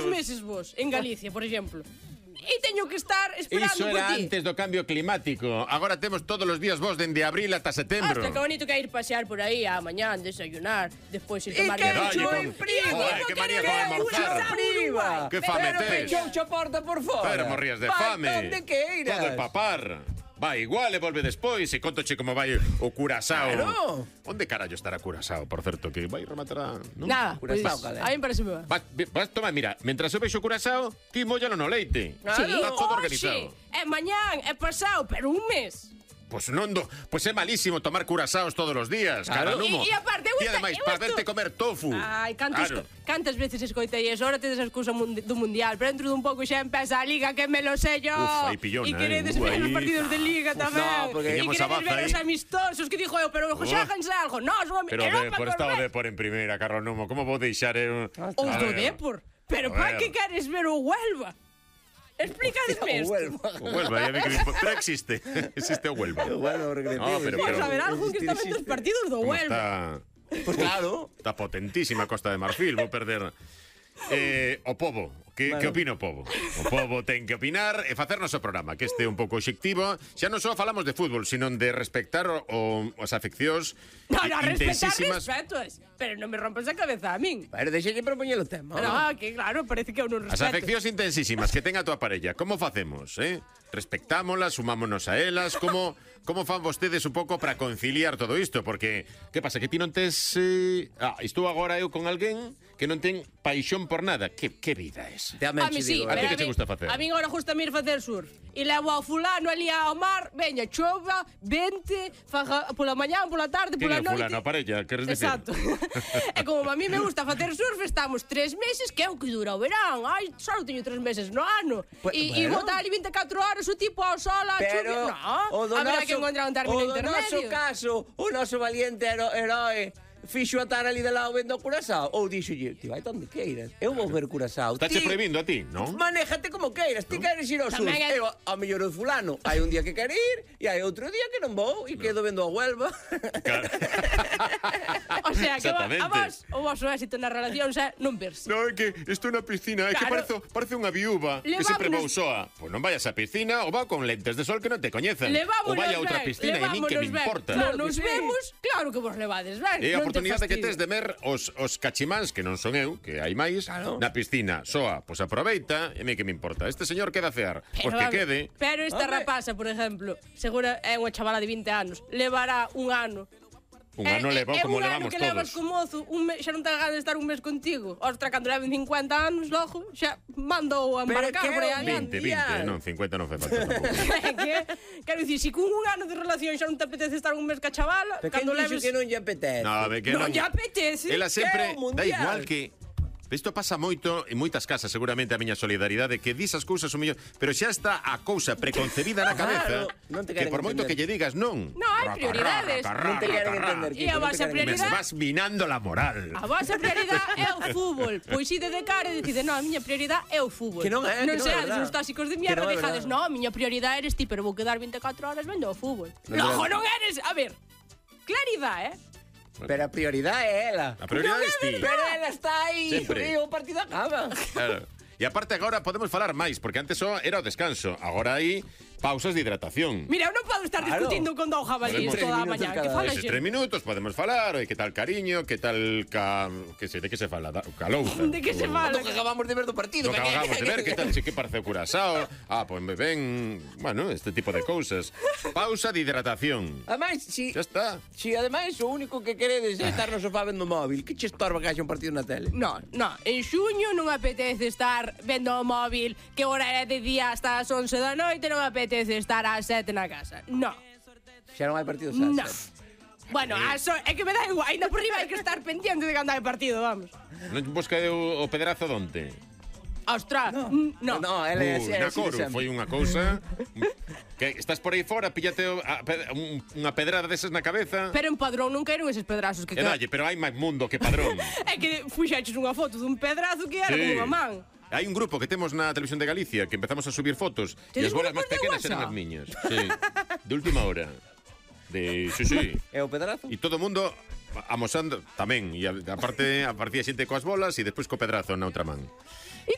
2 meses vos, en Galicia, por exemplo. E teño que estar esperando Iso por era ti. antes do cambio climático. Agora temos todos os días vos dende abril ata setembro. Hasta que bonito que ir pasear por aí a mañán, desayunar, despois ir tomar... que café. chulo, prima! Que manía con almorzar. Prima! Que fame Pero tes. pechouche a porta por fora. Pero morrías de fame. Onde queiras. Todo é papar. Vai igual e volve despois e contoche como vai o Curazao. Claro. Onde carallo estará Curazao, por certo, que vai rematar a... ¿no? Nada, pois, Curazao, calé. a mí parece ben. Vas tomar, mira, mentras eu vexo Curazao, ti mollalo no leite. Claro. Está todo Hoxe, organizado. é mañán, é pasado, pero un mes. Pois non pois é malísimo tomar curasaos todos os días, Claro. caranumo. E aparte, eu E ademais, para verte comer tofu. Ai, Claro. cantas veces escoitei eso, ahora tedes a excusa do Mundial, pero dentro dun pouco xa empeza a Liga, que me lo sé yo. Uf, aí pillona, E queredes ver os partidos de Liga tamén. no, porque e teníamos queredes a Baza ver aí. os amistosos, que dixo eu, pero xáganse algo. No, Pero Europa por con estado Red. de por en primeira, Carlos como vou deixar Os do Depor. Pero A ver. para que queres ver o Huelva? Explícadesme isto. O Huelva, ya vi que pero existe. Existe o Huelva. Bueno, recreativo. No, pero- Vamos a ver algo que está vendo os partidos do Como Huelva. está Pues claro. Está potentísima Costa de Marfil, vou perder. O pobo, que opina o pobo? O pobo ten que opinar e facernos o programa, que este é un pouco obxectivo. Xa non só falamos de fútbol, sino de respectar as afeccións No, respetar intensísimas. respetos. Pero non me rompas a cabeza a min. Pero deixalle propoñer o tema. No, que claro, parece que eu non As respeto. afeccións intensísimas que ten a tua parella, como facemos, Respectámolas, sumámonos a elas, como fan vostedes un pouco para conciliar todo isto? Porque, que pasa, que ti non tes... estou agora eu con alguén que non ten paixón por nada. Que vida é esa? Te A amen, mí sí, A ti pero que te gusta facer? A mí agora gusta ir facer surf. E levo ao fulano ali ao mar, veña, chova, vente, faja pola mañán, pola tarde, Quen é pola o noite. fulano, a parella, queres dicir? Exacto. E como a mí me gusta facer surf, estamos 3 meses, que é o que dura o verán. Ai, só teño 3 meses no ano. E Bueno. botar ali 24 horas o tipo ao sol, a Pero chuvia. No, habrá que encontrar un término o do intermedio. noso caso, o noso valiente heroe fixo atar ali de lado vendo o Curazao ou dixolle, ti vai onde queiras, eu vou ver Curazao. Estáche Ti prohibindo a ti, non? manéjate como queiras, ti queres ir ao sur. Tamén é- Eu, ao mellor o fulano, hai un día que quere ir e hai outro día que non vou e quedo vendo a Huelva. Claro. O sea, que Exactamente. a vos, o vosso éxito na relación xa non verse. No, é que estou na piscina, é que Claro. parece unha viúva que sempre vou Levámonos- soa. Pois non vayas á piscina ou va con lentes de sol que non te coñecen. Ou vai a outra piscina e a min que me importa. Non Claro que nos sí. vemos, claro que vos levades ben. É a non te oportunidade que fastidio. tes de ver os cachimáns, que non son eu, que hai máis, Claro. na piscina. Soa, pois aproveita, e a mí que me importa. Este señor queda a cear, pois que a ver, quede. Pero esta Hombre. rapaza, por exemplo, segura é unha chavala de 20 anos, levará un ano. Un ano levou como un ano levamos que levas todos. co mozo, xa non ten ganas de estar un mes contigo. Ostra, cando leven 50 anos, logo, xa mandou a Pero embarcar que por aí é un adiante. 20, non, 50 non fai falta tampouco. Quero dicir, se con un ano de relación xa non te apetece estar un mes ca chavala, Pero cando quen dixo leves... que non lle apetece? No, ve que Non lle apetece. Ela sempre É o dá mundial. igual que isto pasa moito en moitas casas, seguramente a miña solidaridade, que dis as cousas o mellor, pero xa está a cousa preconcebida na cabeza, Claro, non te que queren por moito entender. que lle digas non. No, hai prioridades. Non te queren entender. E a vosa non te queren Me prioridade- vas minando la moral. A vosa prioridade é o fútbol. Pois ide de cara e decide, non, a miña prioridade é o fútbol. Que non é, que non é seades verdad. uns tóxicos de Que mierda, non é dejades, verdad. non, a miña prioridade eres ti, pero vou quedar 24 horas vendo o fútbol. Non é Logo verdad. non eres, a ver, claridade, Pero a prioridade é ela. A prioridade é ti. Pero ela está aí Sempre. e o partido acaba. Claro. E aparte agora podemos falar máis, porque antes só era o descanso, agora hai pausas de hidratación. Mira, eu non podo estar Claro. discutindo con dous jabalíes Podemos- toda a 3 mañá. minutos Que cada fala vez. Eses xe? 3 minutos podemos falar, oi, que tal cariño, que tal de que se fala, calouza. De que se fala? Do que acabamos de ver do partido. Do que acabamos de ver, que tal, que parece o Curazao. Pois me ven, bueno, este tipo de cousas. Pausa de hidratación. Ademais, Xa está. si ademais o único que queredes é estar no sofá vendo o móvil, que che estorba que haxa un partido na tele? No, en xuño non apetece estar vendo o móvil que hora é de día hasta as 11 da noite, non apetece estar ás 7 na casa. No, Xa non hai partidos no. ás 7. Bueno, é que me dá igual, ainda por riba hai que estar pendiente de cando hai partido, vamos. Non busca o pedrazo donte? Ostras, no. No, ela é así, na así de coro, sempre. foi unha cousa que estás por aí fora, píllate unha pedrada desas na cabeza. Pero en Padrón non quero eses pedrazos que E dalle, pero hai máis mundo que Padrón. É que fuxeches unha foto dun pedrazo que era Sí. como unha man. Hai un grupo que temos na televisión de Galicia que empezamos a subir fotos e as Tedes bolas máis grupos de pequenas eran WhatsApp? as miñas. Sí. De última hora. Sí. É o pedrazo? E todo o mundo amosando tamén. E aparte aparecía xente coas bolas e despois co pedrazo na outra man.